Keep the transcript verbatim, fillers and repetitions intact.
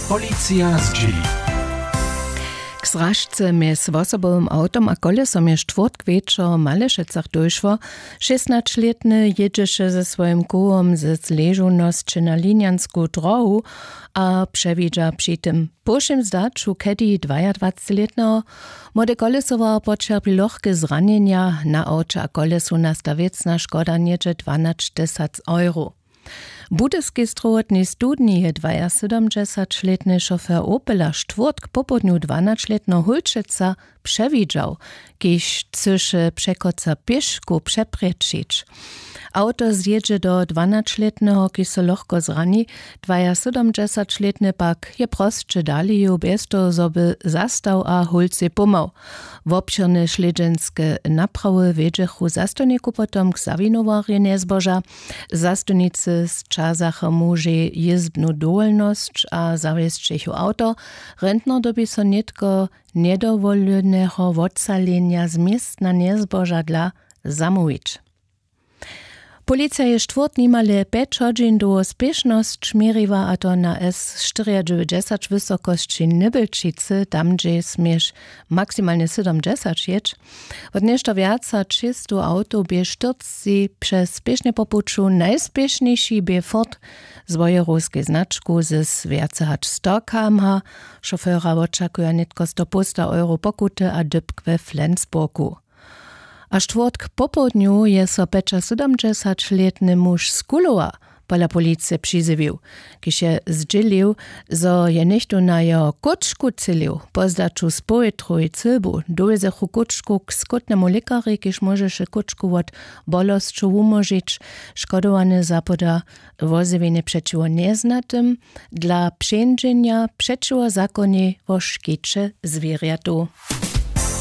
Policija zdźěli. K zražce mjez wosobowym awtom a kolesom je štwórtk wječor w Malešecach dóšło. Šěsnaćlětny jědźeše ze swojim kołom ze zležownosće na linjansku drohu a přewidźa při tym po wšěm zdaću kedi dwajadwacećlětneho. Młode kolesował poćerpi lochke zranjenja. Na awće a kolesu nasta wěcna škoda něhdźe dwanaćtysac euro. W budyskej strowotnej studni je dwajasydomdźesaćlětny šofer opela štwórtk popołdnju dwanaćlětneho hólčeca přewidźał, kiž chcyše překoca pěškow přeprječić. Awto zjědźe do dwanaćlětneho, kiž so lochko zrani. Dwajasydomdźesaćlětny pak je prosće dali jěł bjez toho zo by zastał a hólcej pomhał. Wobšěrne slědźenske naprawy wjedźechu zastawniku potom k zawinowarjej njezboža. Zastawnicy sćazacha mužej jězbnu dowolnosć a zawjesćechu awto. Rentner dyrbi so nětko njedowoleneho wotsalenja z městna njezboža dla zamołwić. Policija je štwórtk nimale pjeć hodźin dołho spěšnosć měriła, a to na s štyriadźewjećdźesać wysokosći nybelčicy, tam hdźež směš maksimalnje sydomdźesać jěć. Wot něšto wjac hač šěsćstow awtow bě štyrcci přez spěšnje po puću. Najspěšniši bě fort z wojerowskej značku z wjace hač sto kmh. Šofera wočakuja nětko sto połsta euro pokuty a dypk we flensburgu. A štwórtk popołdnju je so pjećasydomdźesaćlětny muž z kulowa pola policije přizjewił, kiž je zdźělił, zo je něchtó na jeho kóčku třělił. Po zdaću z powětrowej cylbu dowjezechu kóčku k skótnemu lěkarjej, kiž móžeše kóčku wot bolosćow wumóžić. Škodowany zapoda wozjewjenje přećiwo njeznatym dla přeńdźenja přećiwo zakonjej wo škěće zwěrjatow.